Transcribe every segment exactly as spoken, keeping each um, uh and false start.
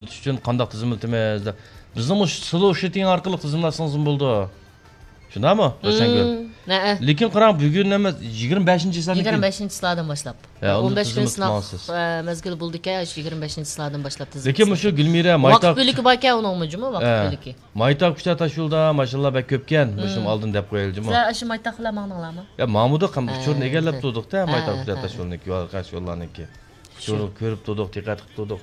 ئۈچۈن قانداق تىزىملىتىمىز دەپ. بىزنىڭ مۇشۇ سلوشىتىڭ ئارقىلىق تىزىملاتسىڭىزمۇ بولىدۇ. شۇنداقمۇ، روشەنگۈل؟ ھە. لېكىن قاراڭ، بۈگۈن ئەمەس، يىگىرمە بەشىنچى چىسلادىن كېيىن. يىگىرمە بەشىنچى چىسلادىن باشلاپ. ھە، ئون بەش كۈن سىناق، ئە، مەزگىلى بولىدىكەن، شۇ يىگىرمە بەشىنچى چىسلادىن باشلاپ تىزىملىتىڭىز. لېكىن مۇشۇ گۈلمىرە، مايتاق، ۋاقىت بۆلىكى باركەن ئۇنىڭمۇ جۇمۇ، ۋاقىت بۆلىكى. مايتاق كۇچا تاشيولىدا ماشىنىلار بەك كۆپكەن، مۇشۇنىڭ ئالدىنى دەپ قويايلى جۇمۇ. سىلەر ئاشۇ مايتاق بىلەن ماڭدىڭلارمۇ؟ يا، ماڭمىدۇق، ئۇچۇرنى ئىگىلەپ تۇردۇق-تە، مايتاق كۇچا تاشيولىنىڭكى، قاش يوللارنىڭكى. ئۇچۇرنى كۆرۈپ تۇردۇق، دىققەت قىلىپ تۇردۇق.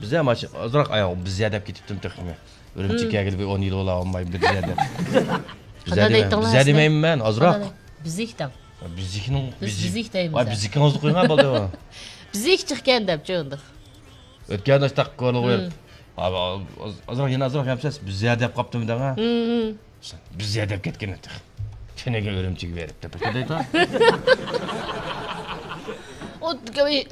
بىزە ماشىنا ئازراق، ئاي، بىزە دەپ كېتىپتىم تېخىمۇ. ئۈرۈمچىگە كەلگىلى بىر ئون يىل بولا ئالماي بىزە دەپ. بىزە دېمەيمەن، بىزە دېمەيمەن مەن، ئازراق. بىزىك دەڭ. بىزىكنىڭ، بىز بىزىك دەيمىز. ۋاي، بىزىكىڭىزنى قويۇڭ، بولدى. بىزىك چىقكەن دەپ چۆندۇق. ئۆتكەندە ئاشتاق كولىغا بېرىپ، ئازراق، يەنە ئازراق يەمسەز، بىزە دەپ قاپتىمۇ دەڭ. بىزە دەپ كەتكەن تېخى. تېنىگە ئۈرۈمچىگە بېرىپ دەپ دەيدۇ. ئۇ،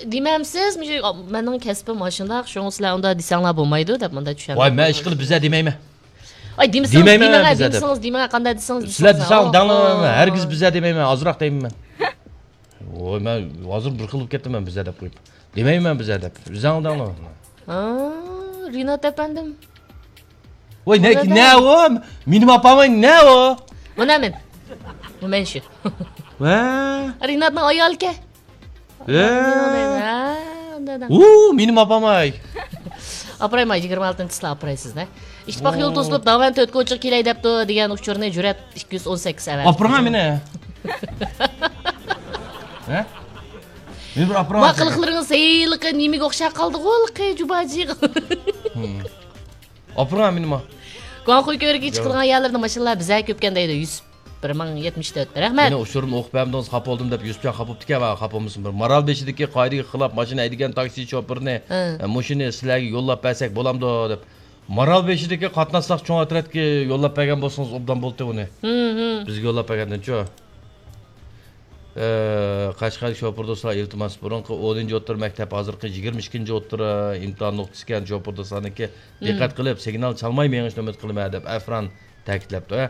دېمەمسىز، مۇشۇ مېنىڭ كەسپىم ئاشۇنداق، شۇڭا سىلەر ئۇنداق دېسەڭلار بولمايدۇ دەپ مۇنداق چۈشەندۈرۈپ. ۋاي، مەن ئىشقىلىپ بىزە دېمەيمەن. ئاي، دېمىسىڭىز دېمەيمەن دېمىڭە، بىزە دېمىسىڭىز دېمىڭە، قانداق دېسىڭىز دېسىڭىز. سىلەر دېسەڭ دەڭلار، ھەرگىز بىزە دېمەيمەن، ئازراق دەيمەن مەن. ۋوي، مەن ھازىر بىر خىل بولۇپ كەتتىم مەن بىزە دەپ قويۇپ. دېمەيمەن مەن بىزە دەپ. ئۆزۈڭ دەڭلار. ھا، رىنات ئەپەندىم. ۋوي، نە، نە ئۇ؟ مېنىڭ ئاپام نە ئۇ؟ مانا مەن. بۇ مەن شۇ. ۋە. رىناتنىڭ ئايالىكەن. ۋە. ھە، ئۇنداق دەڭ. ئۇ، مېنىڭ ئاپام ئاي. ئاپىرايمۇ، يىگىرمە ئالتىنچى چىسلا ئاپىرايسىز، ھە؟ ئىتتىپاق يول توسۇلۇپ، داۋان تۆت كوچىغا كېلەي دەپتۇ دېگەن ئۇچۇرنى جۈرئەت ئىككى يۈز ئون سەككىز ئەۋەتىپتۇ. ئاپىرىڭا مېنى. ھە؟ مېنى بىر ئاپىرىڭا. ما قىلىقلىرىڭىز ھېلىقى نېمىگە ئوخشاپ قالدىغۇ، ھېلىقى جۇباجىغا. ئاپىرىڭا مېنى ما. گۇاڭخۇي كۆۋرۈكىگە چىقىدىغان يەرلەردە ماشىنىلار بىزە كۆپكەن دەيدۇ، يۈسۈپ. بىر مىڭ يەتمىش تۆت. رەھمەت. مېنى ئۇچۇرۇمنى ئوقۇپ بەرمىدىڭىز، خاپا بولدۇم دەپ يۈسۈپجان خاپا بوپتىكەن، ۋە خاپا بولمىسۇن. بىر مارال بېشىدىكى قائىدىگە خىلاپ ماشىنا ھەيدىگەن تاكسى شوپۇرىنى، ھە. ئە، مۇشۇنى سىلەرگە يوللاپ بەرسەك بولامدۇ دەپ. مارال بېشىدىكى قاتناش ساق چوڭ ئەترەتكە يوللاپ بەرگەن بولسىڭىز ئوبدان بولدى ئۇنى. ھىم، ھىم. بىزگە يوللاپ بەرگەندىن چۇ. ئە، قەشقەرلىك شوپۇر دوستلار، ئىلتىماس، بۇرۇنقى ئونىنچى ئوتتۇرا مەكتەپ، ھازىرقى يىگىرمە ئىككىنچى ئوتتۇرا ئىمتىھان نۇقتىسىكەن شوپۇر دوستلارنىڭكى. ھىم. دىققەت قىلىپ، سىگنال چالماي مېڭىشنى ئۈمىد قىلىمەن دەپ ئەفران تەكىتلەپتۇ. ھە.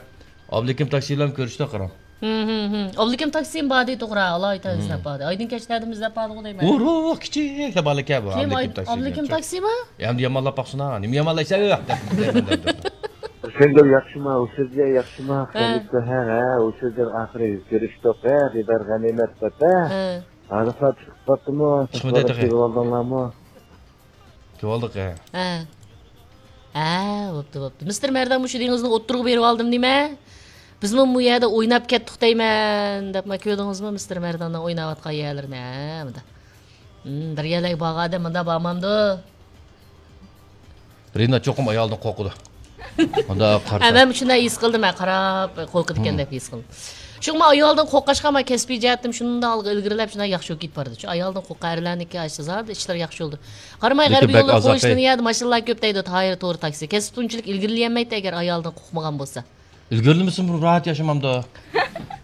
ئابلىكىم تاكسى بىلەن كۆرۈشتى قاراڭ. ھىم، ھىم، ھىم. ئابلىكىم تاكسىمۇ باردى توغرا، ئالايىتەن ئىزدەپ باردى. ئايدىن كەچلەردىمۇ ئىزدەپ باردىغۇ دەيمەن. ئۇرۇق كىچىك دەپ بالىكەن بۇ. كىم ئابلىكىم تاكسى ئابلىكىم دېگەن تاكسىمۇ؟ ئەمدى يامانلاپ باقسىنا، نېمە يامانلايسەن دەپ. سەنگە ياخشىما، ئۇ سۆزگە ياخشىما، ھە. خەلىپە، ھە، ھە، ئۇ سۆزدىن ئاخىرى كۆرۈشتۇق، ھە، دىدار غەنىيمەت دەپ، ھە. ھە. ھازىرلا چىقىپ قاپتىمۇ، چىقمىدى تېخى. كېلىۋالدىڭلارمۇ؟ كېلىۋالدۇق، ھە. ھە. ھە، بوپتۇ، بوپتۇ. مىستېر مەردان مۇشۇ دېڭىزنى ئوتتۇرىغا بېرىۋالدىم نېمە؟ بىزمۇ بۇ يەردە ئويناپ كەتتۇق دەيمەن، دەپ ما كۆردىڭىزمۇ مىستېر مەرداننىڭ ئويناۋاتقان يەرلىرىنى، ھە، مۇنداق. ھىم، بىر يەرلەرگە بارغان ئادەم مۇنداق بارمامدۇ؟ رىنا چوقۇم ئايالدىن قورقىدۇ. ئۇنداق قارىسا. ھە، مەن شۇنداق ھېس قىلدىم، ھە، قاراپ قورقىدىكەن دەپ ھېس قىلدىم. شۇڭا ئايالدىن قورققاچقا، مەن كەسپىي جەھەتتىن شۇنداق ئالغا ئىلگىرىلەپ، شۇنداق ياخشى بولۇپ كېتىپ بارىدۇ. شۇ ئايالدىن قورققان ئەرلەرنىكى ئاشۇ زادى ئىشلار ياخشى بولىدۇ. قارىماي، غەربىي يولغا قويۇشتىن يەردە ماشىنىلار كۆپ دەيدۇ، تايىر تورى تاكسى. كەسپى ئۇنچىلىك ئىلگىرىلىيەلمەيتتى، ئەگەر ئايالدىن قورقمىغان بولسا. ئىلگىرىلىمىسىمۇ راھەت ياشىمامدۇ؟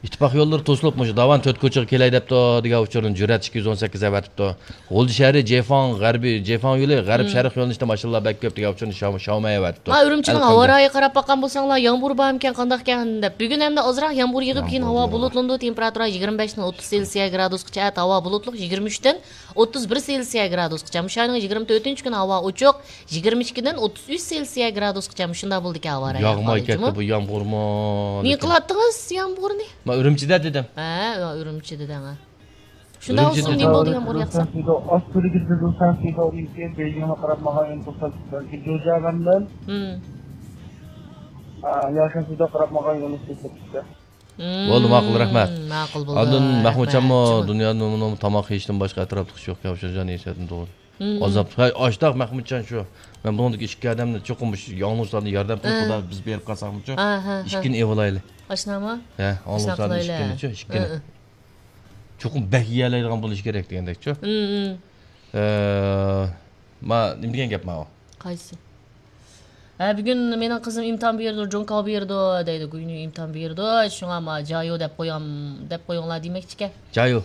ئىتتىپاق يوللىرى توسۇلۇپ، مۇشۇ داۋان تۆت كوچىغا كېلەي دەپتۇ، دېگەن ئۇچۇرنى جۈرئەت ئىككى يۈز ئون سەككىز ئەۋەتىپتۇ. غۇلجا شەھىرى جېفاڭ غەربىي، جېفاڭ يولى غەرب شەرق يۆنىلىشتە ماشىنىلار بەك كۆپ، دېگەن ئۇچۇرنى شاۋ-، شاۋمەي ئەۋەتىپتۇ. ما ئۈرۈمچىنىڭ ھاۋا رايىغا قاراپ باققان بولساڭلار، يامغۇر بارمىكەن، قانداقكەن دەپ. بۈگۈن ئەمدى ئازراق يامغۇر يېغىپ، كېيىن ھاۋا بۇلۇتلىنىدۇ، تېمپېراتۇرا يىگىرمە بەشتىن ئوتتۇز سېلسىيە گرادۇسقىچە، ئەتە ھاۋا بۇلۇتلۇق، يىگىرمە ئۈچتىن ئوتتۇز بىر سېلسىيە گرادۇسقىچە. مۇشۇ ئاينىڭ يىگىرمە تۆتىنچى كۈنى ھاۋا ئوچۇق، يىگىرمە ئىككىدىن ئوتتۇز ئۈچ سېلسىيە گرادۇسقىچە مۇشۇنداق بولىدىكەن ھاۋا رايى. ياغمايكەن بۇ يامغۇرمۇ. نېمە قىلاتتىڭىز يامغۇرنى؟ مەن ئۈرۈمچىدە دېدىم. ھە، ئۈرۈمچىدە دەڭ. شۇنداق بولسۇن، نېمە بولدى يامغۇر ياغسا؟ ھىم. بولدى، ماقۇل، رەھمەت. ماقۇل بولدى. ئاندىن مەھمۇتجانمۇ دۇنيادا تاماق يېيىشتىن باشقا ئەتراپلىق ئىش يوقكەن، شۇ جان يېسەتنى توغرا. ئازاب. ھەي، ئاشتاق مەھمۇتجان شۇ. مەن بۇنىڭدىكى ئىككى ئادەمنى چوقۇم مۇشۇ ياڭلىشلارنى ياردەم قىلىپ، خۇدا بىز بېرىپ قالساقمۇچۇ، ئىككىنى ئېۋىلايلى. ئاشۇنداقمۇ؟ ھە، ئاڭلىشلارنى ئىككىنىچۇ، ئىككىنى. چوقۇم بەك يېيەلەيدىغان بولۇش كېرەك دېگەندەكچۇ. ما، نېمە دېگەن گەپ ماۋۇ؟ قايسى؟ ھە، بۈگۈن مېنىڭ قىزىم ئىمتىھان بېرىدۇ، جوڭكاۋ بېرىدۇ دەيدۇ، گۇينۈ ئىمتىھان بېرىدۇ، شۇڭا ما جايۇ دەپ قويام، دەپ قويۇڭلار دېمەكچىكەن. جايۇ.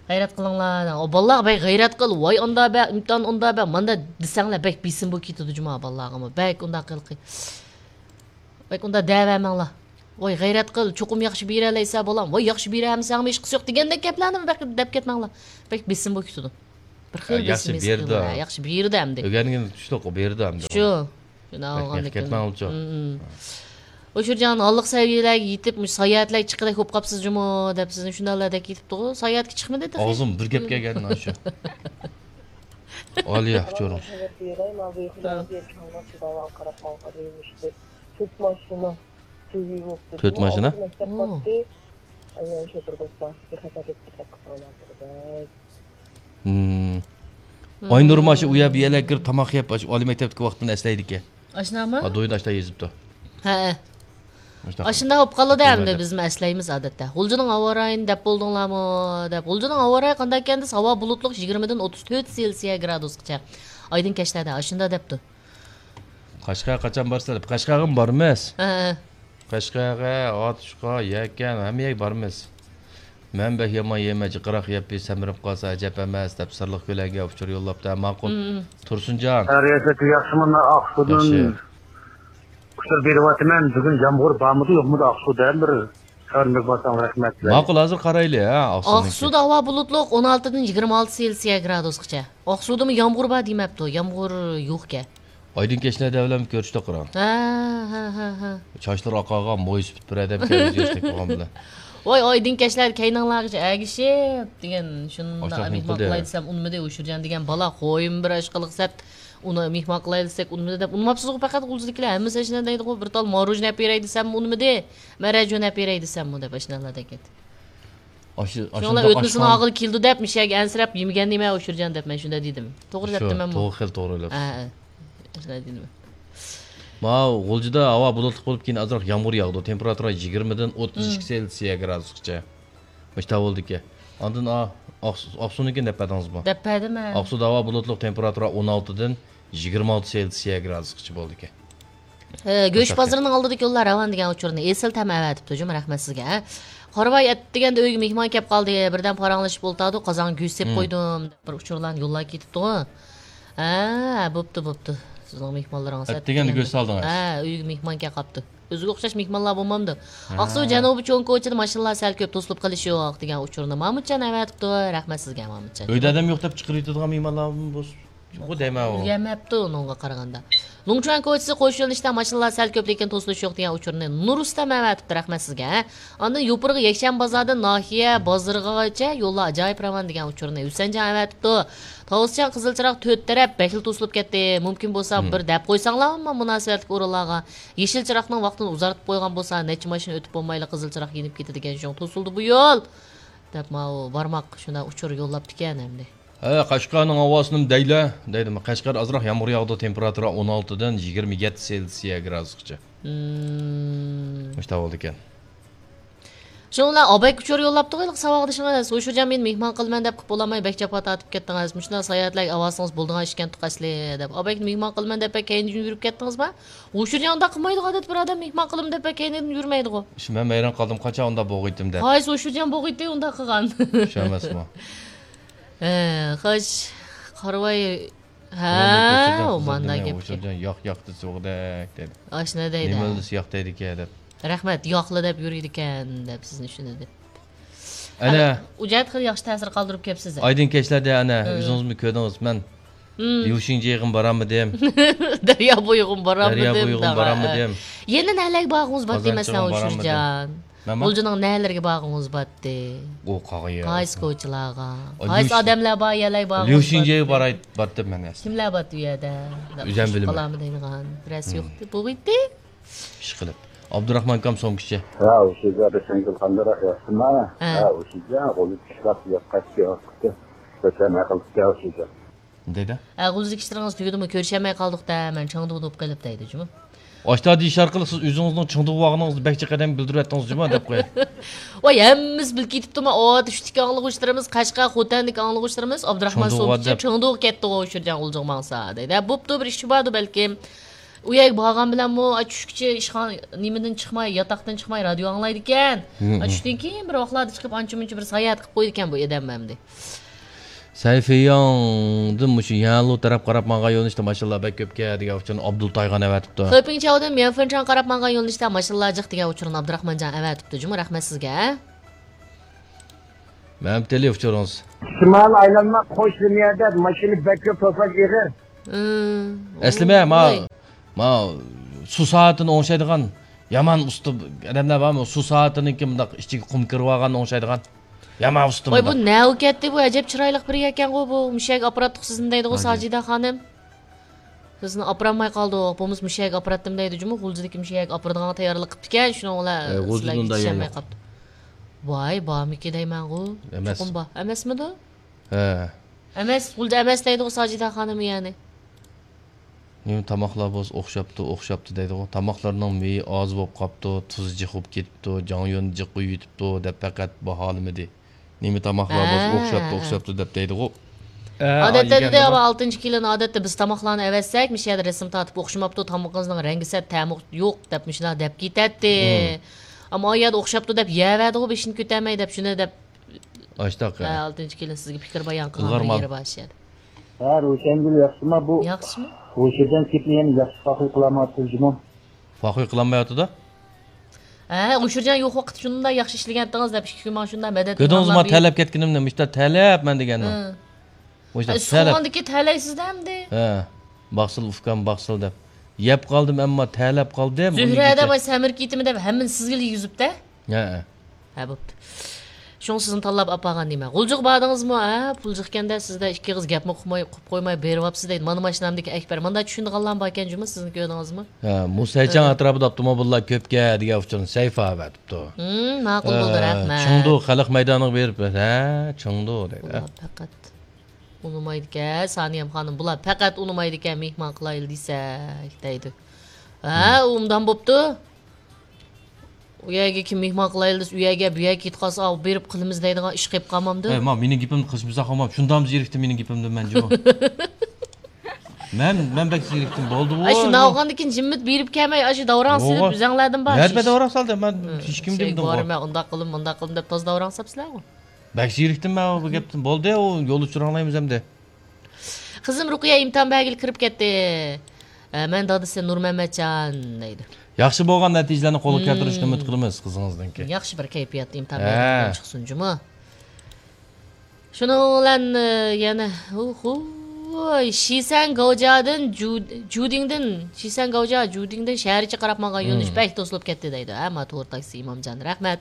غەيرەت قىلىڭلار. ئۇ بالىلارغا بەك غەيرەت قىل، ۋاي ئاندا بە، ئىمتىھان ئاندا بە، ماندا دېسەڭلار بەك بېسىم بولۇپ كېتىدۇ جۇما بالىلارغىمۇ. بەك ئۇنداق قىلقى. بەك ئۇنداق دەۋەرمەڭلار. ۋاي غەيرەت قىل، چوقۇم ياخشى بېرەلەيسە بالام، ۋاي ياخشى بېرەلمىسەڭمۇ ھېچقىسى يوق دېگەندەك گەپلەرنى بەك دەپ كەتمەڭلار. بەك بېسىم بولۇپ كېتىدۇ. بىر خىل ياخشى بېسىم ھېس بېرىدۇ. قىلىنغان. ياخشى بېرىدۇ ئەمدى. ئۆگەنگىن كۈچلۈك بېرىدۇ ئەمدى. شۇ. شۇنداق بەك ئالغاندىكىن. مېڭىپ كەتمەڭلىچۇ. مم. ئۇ شۇرجان ھاللىق سەۋىيەلەرگە يېتىپ، مۇشۇ ساياھەتلەرگە چىققىدەك بولۇپ قاپسىز جۇمۇ دەپ سىزنى شۇنداقلا دەك يېتىپتىغۇ. ساياھەتكە چىقمىدى تېخى. ئاغزىم بىر گەپ كەلگەن شۇ. ئالىيە، ئۇچۇرۇڭ. تۆت ماشىنا. تۆت ماشىنا؟ مەكتەپ ئوو. پاتتى. ئايال شوپۇر دوستلار، بىخەتەرلىك دىققەت قىلساڭلار بولىدۇ. ھىم. ئاينۇر ماشۇ ئۇ يەر بۇ يەرلەرگە كىرىپ تاماق يەپ، ئاشۇ ئالىي مەكتەپتىكى ۋاقتىنى ئەسلەيدىكەن. ئاشۇنداقمۇ؟ ھە، دويدا ئاشۇنداق يېزىپتۇ. ھەئە. ئاشۇنداق. ئاشۇنداق بولۇپ قالىدۇ ئەمدى، بىزمۇ ئەسلەيمىز ئادەتتە. غۇلجىنىڭ ھاۋا رايىنى دەپ بولدىڭلارمۇ؟ دەپ. غۇلجىنىڭ ھاۋا رايى قانداق ئىكەن دېسە، ھاۋا بۇلۇتلۇق، يىگىرمىدىن ئوتتۇز تۆت سېلسىيە گرادۇسقىچە. ئايدىڭ كەچلەردە ئاشۇنداق دەپتۇ. قەشقەرگە قاچان بارىسىلەر؟ قەشقەرگىمۇ بارىمىز. ھە، ھە. قەشقەرگە، ئاتۇشقا، يەكەن، ھەممە يەرگە بارىمىز. مەن بەك يامان يەيمەن، جىقراق يەپ سەمرىپ قالسا ئەجەب ئەمەس، دەپ سىرلىق كۆلەڭگە ئۇچۇر يوللاپتۇ. ھە، ماقۇل. مم. تۇرسۇنجان. خەيرىيەتلىك، ياخشىمۇ؟ مانا ئاقسۇدىن ياخشى. ئۇچۇر بېرىۋاتىمەن. بۈگۈن يامغۇر بارمىدۇ، يوقمىدۇ ئاقسۇدا؟ بىر خەۋىرىمىز بارساڭ رەھمەت. ماقۇل، ھازىر قارايلى، ھە، ئاقسۇنىڭكى. ئاقسۇدا ھاۋا بۇلۇتلۇق، ئون ئالتىدىن يىگىرمە ئالتە سېلسىيە گرادۇسقىچە. ئاقسۇدىمۇ يامغۇر بار دېمەپتۇ، يامغۇر يوقكەن. ئايدىڭ كەچلەردە بىلەن كۆرۈشتۇق، قاراڭ. ھە، ھە، ھە، ھە. چاچلىرى ئاقارغان، مويسى پۈتۈپ بىر ئادەم كەلگۈزۈشتەك بولغان بىلەن. ۋاي، ئايدىڭ كەچلەردە كەينىڭلارغىچە ئەگىشىپ دېگەن، شۇنداق مېھمان قىلاي دېسەم ئۇنىمىدى، ئۇشۇرجان دېگەن بالا خويۇم بىر ئاشقىلىق سەت ئۇنى مېھمان قىلاي دېسەك ئۇنىمىدى دەپ، ئۇنىماپسىزغۇ پەقەت غۇلجىدىكىلەر، ھەممىسى ئاشۇنداق دەيدىغۇ، بىر تال ماروژنا ئەپ بېرەي دېسەممۇ ئۇنىمىدى، مەرەجۇن ئەپ بېرەي دېسەممۇ دەپ ئاشۇنداقلاردەك ئىدى. ئاشۇ، شۇڭلار ئاشۇنداق ئۆتمىسىنى ئاشخانا ئاغىلى كېلىدۇ دەپ، مىشەگە ئەنسىرەپ يېمىگەن دېمە ئۇشۇرجان دەپ مەن شۇنداق دېدىم. توغرا دەپتىمەنمۇ؟ شۇ، توغرا خېلى توغرا دەپ. ھە، ھە. شۇنداق دېدىم. ماۋۇ غۇلجىدا ھاۋا بۇلۇتلۇق بولۇپ، كېيىن ئازراق يامغۇر ياغىدۇ. تېمپېراتۇرا يىگىرمىدىن ئوتتۇز ئىككى سېلسىيە گرادۇسقىچە. مۇشۇنداق بولىدىكەن. ئاندىن، ئا، ئاقسۇ-، ئاقسۇنىڭكىنى دەپ بەردىڭىزمۇ؟ دەپ بەردىم، ھە. ئاقسۇدا ھاۋا بۇلۇتلۇق، تېمپېراتۇرا ئون ئالتىدىن يىگىرمە ئالتە سېلسىيە گرادۇسقىچە بولىدىكەن. ھە، گۆش بازىرىنىڭ ئالدىدىكى يوللار راۋان دېگەن ئۇچۇرنى ئېسىل تەم ئەۋەتىپتۇ جۇمۇ، رەھمەت سىزگە. قارىۋاي، ئەتىگەندە ئۆيگە مېھمان كەپ قالدى، بىردەم پاراڭلىشىپ ئولتاردۇق، قازانغا گۆش سېلىپ قويدۇم دەپ بىر ئۇچۇرلارنى يوللاپ كېتىپتۇ. ھە، بوپتۇ، بوپتۇ. سىزنىڭ مېھمانلىرىڭىز ئەتىگەندە گۆش سالدىڭىز؟ ھە، ئۆيگە مېھمان كەپ قاپتۇ. ئۆزىگە ئوخشاش مېھمانلار بولمامدۇ؟ ھە. ئاقسۇ جەنۇبى چوڭ كوچىدا ماشىنىلار سەل كۆپ، توسۇلۇپ قېلىش يوق دېگەن ئۇچۇرنى مامۇتجان ئەۋەتىپتۇ. رەھمەت سىزگە، مامۇتجان. ئۆيدە ئادەم يوق دەپ چىقىرىۋېتىدىغان مېھمانلار بولسا. يوق دەيمەن ئۇ. ئۆگەنمەپتۇ ئۇنىڭغا قارىغاندا. لۇڭچۈەن كوچىسى قوش يۆنىلىشتە ماشىنىلار سەل كۆپ، لېكىن توسۇلۇش يوق دېگەن ئۇچۇرنى نۇرۇستەم ئەۋەتىپتۇ، رەھمەت سىزگە. ئاندىن يوپۇرغا يەكشەنبە بازاردىن ناھىيە بازىرىغىچە يوللار ئاجايىپ راۋان دېگەن ئۇچۇرنى ھۈسەنجان ئەۋەتىپتۇ. تاۋۇسجان قىزىل چىراغ تۆت تەرەپ بەكلا توسۇلۇپ كەتتى. مۇمكىن بولسا بىر دەپ قويساڭلارمۇ مۇناسىۋەتلىك ئورۇنلارغا. يېشىل چىراغنىڭ ۋاقتىنى ئۇزارتىپ قويغان بولسا، نەچچە ماشىنا ئۆتۈپ بولمايلا قىزىل چىراغ يېنىپ كېتىدىكەن، شۇڭا توسۇلدى بۇ يول. دەپ ماۋۇ بارماق شۇنداق ئۇچۇر يوللاپتىكەن ئەمدى. ھە، قەشقەرنىڭ ھاۋاسىنىمۇ دەيلى، دەيدۇ. قەشقەر ئازراق يامغۇر ياغىدۇ، تېمپېراتۇرا ئون ئالتىدىن يىگىرمە يەتتە سېلسىيە گرادۇسقىچە. مم. مۇشۇنداق بولىدىكەن. شۇنىڭ بىلەن ئابەك ئۇچۇر يوللاپتۇ، ھېلىقى ساۋاقدىشىڭىز. ھوشۇرجان، مېنى مېھمان قىلىمەن دەپ قىلىپ بولالماي بەك جاپا تارتىپ كەتتىڭىز. مۇشۇنداق ساياھەتلەرگە ئاۋارە بولىدىغان ئىشكەنتۇق ئەسلى، دەپ. ئابەكنى مېھمان قىلىمەن دەپ بەك كەينىدىن يۈرۈپ كەتتىڭىزما؟ ھوشۇرجان ئۇنداق قىلمايدىغۇ، ئادەتتە بىر ئادەم مېھمان قىلىمەن دەپ بەك كەينىدىن يۈرمەيدىغۇ. شۇ مەن ھەيران قالدىم، قاچان ئۇنداق بولغىيتتىم دەپ. قايسى ھوشۇرجان بولغىيتتى ئۇنداق قىلغان؟ شۇ ئەمەسمۇ؟ ھە، خوش. قارىۋاي. ھە، ئوماندا گەپكە. ھوشۇرجان ياق، ياق دېسە بولغۇدەك دېدى. ئاشۇنداق دەيدۇ. نېمە دېسە ياق دەيدىكەن دەپ. رەھمەت، ياقلا دەپ يۈرىدىكەن دەپ سىزنى شۇنى دەپ. ئەنە. ئۇ جەھەت خېلى ياخشى تەسىر قالدۇرۇپ كەپسىز. ئايدىڭ كەچلەردە ئەنە، ئۆزىڭىزمۇ كۆردىڭىز، مەن ليۇشىڭجيېغىمۇ بارالمىدىم. دەريا بويىغىمۇ بارالمىدىم. دەريا بويىغىمۇ بارالمىدىم. يەنە نەلەرگە بارغۇڭىز بار دېمەسلەڭ، ھوشۇرجان. مەنمۇ؟ غۇلجىنىڭ نەلىرىگە بارغۇڭىز باتتى؟ ئۇ قاغا يەر. قايسى كوچىلارغا؟ قايسى ئادەملەر بار يەرلەرگە بارغۇڭىز باتتى؟ ليۇشىنجيېگە باراي، باتتىم مەن ئەسلى. كىملەر باتتى ئۇ يەردە؟ ئۆزۈم بىلىمەن. قالامدىغان بىرەرسى يوقتى. بولغىيتتى. ئىشقىلىپ. ئابدۇراخمان ئاكام سومكىچى. ھە، ئۇ شىجا بېشىڭىز قانداقراق، ياخشىما؟ ھە. ھە، ئۇ شىجا غۇلجا ئىشلاپ ياققاچكى ۋاقىتتا كۆچەرمەي قىلىپتىكەن ئۇ شىجا. دەيدۇ. ھە، غۇلجىدىكى ئىشلىرىڭىز تۈگىدىمۇ؟ كۆرۈشەلمەي قالدۇق-دە، مەن چىڭدۇ بولۇپ قېلىپ دەيدۇ جۇمۇ. ئاشتا دېيىش ئارقىلىق سىز ئۆزىڭىزنىڭ چىڭدۇ بولغىنىڭىزنى بەك جىق ئادەمگە بىلدۈرۈۋەتتىڭىز جۇمۇ دەپ قوياي. ۋاي، ھەممىسى بىلىپ كېتىپتىما، ئۇ چۈشتىكى ئاڭلىغۇچىلىرىمىز، قەشقەر، خوتەندىكى ئاڭلىغۇچىلىرىمىز ئابدۇراخمان سومكىچى چىڭدۇغا كەتتىغۇ، ئۇشۇرجان غۇلجىغا ماڭسا دەيدۇ. ھە، بوپتۇ، بىر ئىشى باردۇ بەلكىم. ئۇ يەرگە بارغان بىلەنمۇ، ئا، چۈشكىچە ئىشخانا، نېمىدىن چىقماي، ياتاقتىن چىقماي رادىيو ئاڭلايدىكەن. ھە، ئا، چۈشتىن كېيىن بىر ۋاقىتلاردا چىقىپ، ئانچە-مۇنچە بىر ساياھەت قىلىپ قويىدىكەن بۇ ئادەم ئەمدى. سەيفىياڭدىن مۇشۇ يەنلۇ تەرەپ قاراپ ماڭغان يۆنىلىشتە ماشىنىلار بەك كۆپكەن دېگەن ئۇچۇرنى ئابدۇل تايغان ئەۋەتىپتۇ. خېپىڭچاۋدىن ميەنفېنچاڭ قاراپ ماڭغان يۆنىلىشتە ماشىنىلار جىق دېگەن ئۇچۇرنى ئابدۇراخمانجان ئەۋەتىپتۇ جۇمۇ، رەھمەت سىزگە. مەمتىلى ئۇچۇرىڭىز. شىمال ئايلانما قوش لىنىيەدە ماشىنا بەك كۆپ، توساش ئېغىر. ئەسلىمە، ما، ۋاي. ما سۇ سائىتىنى ئوڭشايدىغان يامان ئۇستا ئادەملەر بارمۇ؟ سۇ سائىتىنىڭكى مۇنداق ئىچىگە قۇم كىرىۋالغاننى ئوڭشايدىغان يامان ئۇستا ۋاي، بۇ مۇنداق. نەۋ كەتتى، بۇ ئەجەب چىرايلىق بىرى ئىكەنغۇ، بۇ مۇشۇ يەرگە ئاپىراتتۇق سىزنى دەيدىغۇ، ھاجى. ساجىدە خانىم. سىزنى ئاپىرالماي قالدۇق، بولمىسا مۇشۇ يەرگە ئاپىراتتىم دەيدۇ جۇمۇ، غۇلجىدىكى مۇشۇ يەرگە ئاپىرىدىغان تەييارلىق قىپتىكەن، شۇنىڭ بىلەن ئە، غۇلجىدىن سىلەرگە يېتىشەلمەي قاپتۇ. ۋاي، بارمىكى دەيمەنغۇ؟ ئەمەس. چوقۇم بار. ئەمەسمىدۇ؟ ھە. ئەمەس، غۇلجا ئەمەس دەيدىغۇ ساجىدە خانىم يەنى. نېمە تاماقلار بولسا ئوخشاپتۇ، ئوخشاپتۇ دەيدىغۇ. تاماقلارنىڭ مېيى ئاز بولۇپ قاپتۇ، تۇزى جىق بولۇپ كېتىپتۇ، جاڭيۈەن جىق قويۇۋېتىپتۇ دەپ پەقەت باھالىمىدى. نېمە تاماقلار بولسا ھە، ئوخشاپتۇ، ھە. ئوخشاپتۇ دەپ دەيدىغۇ. ھە، ئادەتتە ئايگەن دېدى، بار. ئالتىنچى كېلىن، ئادەتتە بىز تاماقلارنى ئەۋەتسەك، مۇشۇ يەردە رەسىم تارتىپ ئوخشىماپتۇ، تامىقىڭىزنىڭ رەڭگى سەت، تەمى يوق دەپ مۇشۇنداق دەپ كېتەتتى. ئەمما ئايەردە ئوخشاپتۇ دەپ يەۋەردىغۇ، بېشىنى كۆتەرمەي دەپ شۇنى دەپ. ئاشتاق ھە، ئالتىنچى كېلىن سىزگە پىكىر بايان قىلغان بىر يېرى بار شۇ يەردە. ھە، روشەنگۈل ياخشىما بۇ؟ ياخشىمۇ؟ ھوشىدىن كېپنى يەنە ياخشى پاخىر قىلالمايۋاتىدۇ جۇمۇ. پاخىر قىلالمايۋاتىدۇ؟ ھە، ئۇچۇرجان يوق ۋاقىتتا شۇنداق ياخشى ئىشلىگەنتىڭىز دەپ ئىككى كۈن ماڭا شۇنداق مەدەت كۆردىڭىزمۇ، تەلەپ كەتكىنىمنى مۇشتا تەلەپ مەن دېگەننى. ھە. مۇشتا ھە، تەلەپ. سوغاندىكى تەلەيسىز ئەمدى. ھە. باقسىل ئۇكام، باقسىل دەپ. يەپ قالدىم، ئەمما تەلەپ قالدىم. زۆھرە ئەدە باي سەمرىپ كېتىمەن دەپ ھەممىنى سىزگىلا يۈزۈپتە. ھە. ھە، بوپتۇ. شۇڭا سىزنى تاللاپ ئاپارغان دېمە. غۇلجىغا باردىڭىزمۇ؟ ھە، پۇل جىقكەندە سىزدە ئىككى ئېغىز گەپمۇ قىلماي، قويماي بېرىۋاپسىز دەيدۇ. مانا ماشىنامدىكى ئەكبەر. مانداق چۈشىنىدىغانلارمۇ باركەن جۇمۇ، سىزنى كۆردىڭىزمۇ؟ ھە، مۇسەيچاڭ ھە. ئەتراپىدا ئاپتوموبىللار كۆپكەن دېگەن ئۇچۇرنى سەيفا ئەۋەتىپتۇ. ھىم، ماقۇل بولدى، ھە، رەھمەت. چېڭدۇ خەلق مەيدانىغا بېرىپ، ھە، چېڭدۇ دەيدۇ. ئۇلار پەقەت ئۇنىمايدىكەن، سانىيەم خانىم، بۇلار پەقەت ئۇنىمايدىكەن، مېھمان قىلايلى دېسەك دەيدۇ. ھە، ھىم. ئۇنداق بوپتۇ. ئۇ يەرگە كىم مېھمان قىلايلى دېسە، ئۇ يەرگە، بۇ يەرگە كېتىپ قالسا، ئاۋۇ بېرىپ قىلىمىز دەيدىغان ئىش قېلىپ قالمامدۇ؟ ھەي، ما، مېنىڭ گېپىمنى قىلىشمىسا قالمام. شۇنداقمۇ زېرىكتىم مېنىڭ گېپىمدىن مەن جۇمۇ. مەن، مەن بەك زېرىكتىم. بولدىغۇ. ئاشۇ ناۋغاندىن كېيىن جىممىت بېرىپ كەلمەي، ئاشۇ داۋراڭ سېلىپ ئۆزەڭلەردىن بار. نەدە داۋراڭ سالدى؟ مەن ھېچكىم دېمىدىمغۇ. بارىمەن، ئۇنداق قىلىم، مۇنداق قىلىم دەپ تازا داۋراڭ ساپسىلەرغۇ. بەك زېرىكتىم مەن بۇ گەپتىن. بولدى، ئۇ يول ئۇچۇر ئاڭلايمىز ئەمدى. قىزىم رۇقىيە ئىمتىھان بەرگىلى كىرىپ كەتتى. ئە، مەن دادىسى نۇرمەمەتجان دەيدۇ. ياخشى بولغان نەتىجىلەرنى قولغا كەلتۈرۈشنى ئۈمىد قىلىمىز قىزىڭىزنىڭكى. ياخشى بىر كەيپىياتتا ئىمتىھان بەرگەن چىقسۇن جۇمۇ. شۇنىڭ بىلەن، ئە، يەنە، ھۇ، ھۇ، شىسەن گاۋجادىن، جۇ-، جۇدىڭدىن، شىسەن گاۋجا، جۇدىڭدىن شەھەرچە قاراپ ماڭغان يۆنىلىش بەك توسۇلۇپ كەتتى دەيدۇ. ھە، ما تور تاكسى ئىمامجان، رەھمەت.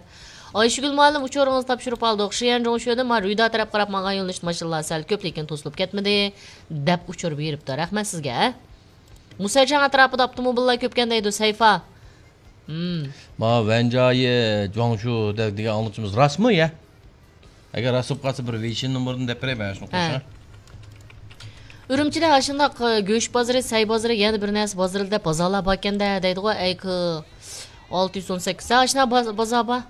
ئايشىگۈل مۇئەللىم، ئۇچۇرىڭىزنى تاپشۇرۇپ ئالدۇق. شيەنجۇڭشۆدىن ما رۈيدا تەرەپ قاراپ ماڭغان يۆنىلىش ماشىنىلار سەل كۆپ، لېكىن توسۇلۇپ كەتمىدى، دەپ ئۇچۇر بېرىپتۇ. رەھمەت سىزگە. مۇسەجاڭ ئەتراپىدا ئاپتوموبىللار كۆپكەن دەيدۇ، سەيفا. ھىم. ما ۋەنجايى جۇاڭشۇ دە-، دېگەن ئاڭلىتىشىمىز راستمۇ يا؟ ئەگەر راست بولۇپ قالسا، بىر ۋېيشىن نومۇرىنى دەپ بېرەي مەن شۇنى قوشۇڭ. ئۈرۈمچىدە ئاشۇنداق، ئە، گۆش بازىرى، سەي بازىرى، يەنە بىر نەرسە بازىرى دەپ بازارلار باركەن-دە دەيدىغۇ، ئەي كى ئالتە يۈز ئون سەككىز. ھە، ئاشۇنداق باز-، بازار بار.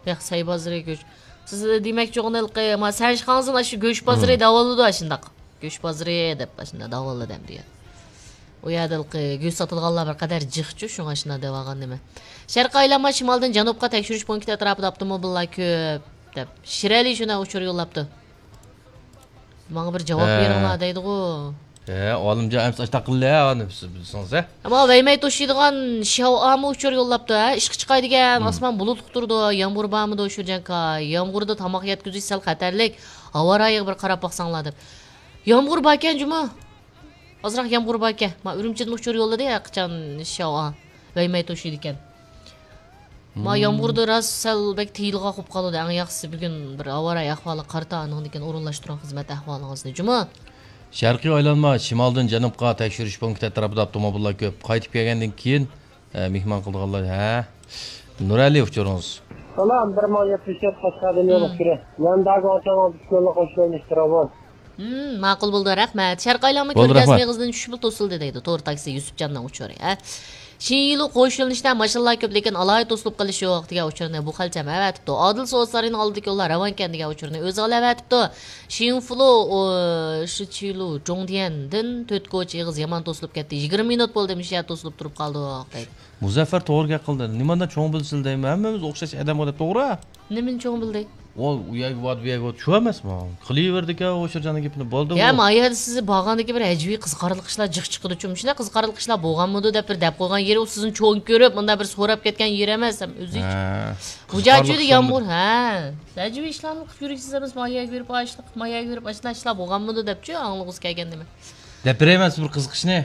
ياق، سەي بازىرى گۆش. سىز دېمەكچى بولغىنى ھېلىقى، ما، سەنشىخاڭزىن ئاشۇ گۆش بازىرى دەۋالىدۇ ئاشۇنداق. گۆش بازىرى دەپ ئاشۇنداق دەۋالىدۇ ئەمدى. ئۇ يەردە ھېلىقى گۆش ساتىدىغانلار بىر قەدەر جىقچۇ، شۇڭا ئاشۇنداق دەۋالغان نېمە. شەرقىي ئايلانما شىمالدىن جەنۇبقا تەكشۈرۈش پونكىتى ئەتراپىدا ئاپتوموبىللار كۆپ دەپ. شىرئەلى شۇنداق ئۇچۇر يوللاپتۇ. ماڭا بىر جاۋاب ھە. بېرىڭلار دەيدىغۇ. ھە، ئالىمجان ئەمسە ئاشتاق قىلدى، ھە، ئانى بىلسىڭىز، ھە. ئەمما ۋەيمەي توشىدىغان شياۋئامۇ ئۇچۇر يوللاپتۇ، ھە، ئىشقا چىقاي دېگەن، ئاسمان بۇلۇتلۇق تۇرىدۇ، يامغۇر بارمىدۇ، شۇجەنكا؟ يامغۇردا تاماق يەتكۈزۈش سەل خەتەرلىك، ھاۋا رايىغا بىر قاراپ باقساڭلار دەپ. يامغۇر باركەن جۇمۇ. ئازراق يامغۇر باركەن. ما ئۈرۈمچىدىن ئۇچۇر يوللىدى ھەقىچان شياۋئا. ۋەيمەي توشىدىكەن. ما يامغۇردا راست سەل بەك تېيىلغاق بولۇپ قالىدۇ. ئەڭ ياخشىسى بۈگۈن بىر ھاۋا رايى ئەھۋالىغا قارىتا، ئاندىن كېيىن ئورۇنلاشتۇرۇڭ خىزمەت ئەھۋالىڭىزنى جۇمۇ. شەرقىي ئايلانما شىمالدىن جەنۇبقا تەكشۈرۈش پونكىتى ئەتراپىدا ئاپتوموبىللار كۆپ. قايتىپ كەلگەندىن كېيىن، ئە، مېھمان قىلىدىغانلار، ھە. نۇرئەلى ئۇچۇرىڭىز. سالام، بىر مىڭ يەتمىش تۆت قەشقەردىن يول ئۇچۇرى. يانداگا ئوچاڭ ئوتۇش يوللۇق ئوشۇلۇش تراۋون. ھىم، ماقۇل بولدى، رەھمەت. شەرقىي ئايلانما بولدى، كۆرگەزمە رەھمەت. ئېغىزىدىن چۈشۈپلا توسۇلدى دەيدۇ، تور تاكسى يۈسۈپجاننىڭ ئۇچۇرى، ھە. شىنيىلۇ قوش يۆنىلىشتە ماشىنىلار كۆپ، لېكىن ئالاھىدە توسۇلۇپ قېلىش يوق دېگەن ئۇچۇرنى بۇ خەلچەم ئەۋەتىپتۇ. ئادىل سوۋېت سارىيىنىڭ ئالدىدىكى يوللار راۋانكەن دېگەن ئۇچۇرنى ئۆزى ئېلىۋەتىپتۇ. شىنفۇلۇ، ئۇ، شىچىلۇ جۇڭدىيەندىن تۆت كوچا ئېغىز يامان توسۇلۇپ كەتتى. يىگىرمە مىنۇت بولدى، مۇشۇ يەردە توسۇلۇپ تۇرۇپ قالدۇق دەيدۇ. مۇزەففەر توغرا گەپ قىلدى. نېمانداق چوڭ بىلسىلە دەيمەن، ھەممىمىز ئوخشاش ئادەم دەپ، توغرا. نېمىنى چوڭ بىلدى؟ ۋاي، ئۇ يەرگە بارىدۇ، بۇ يەرگە بارىدۇ، چۈشۈرمەسمۇ؟ قىلىۋېرىدىكەن ئوشۇرجاننىڭ گېپىنى، بولدى. يا، ما يەردە سىز بارغاندىكى بىر ئەجەبىي قىزىقارلىق ئىشلار جىق چىقىدۇ، چۈشىنىسىلەر؟ قىزىقارلىق ئىشلار بولغانمىدۇ دەپ بىر دەپ قويغان يېرى، ئۇ سىزنى چوڭ كۆرۈپ مۇنداق بىر سوراپ كەتكەن يېرى ئەمەس، ھەم ئۆزى ھە. مۇجاھىدە يامغۇر، ھە. ئەجەبىي ئىشلارنى قىلىپ يۈرگۈسىز ئەمەس، ما يەرگە بېرىپ ئاشلىق، ما يەرگە بېرىپ ئاشلىق، ئاشلىق بولغانمىدۇ دەپچۇ، ئاڭلىغۇسى كەلگەن نېمە. دەپ بېرەيمەن سىزگە بىر قىزىق ئىشنى.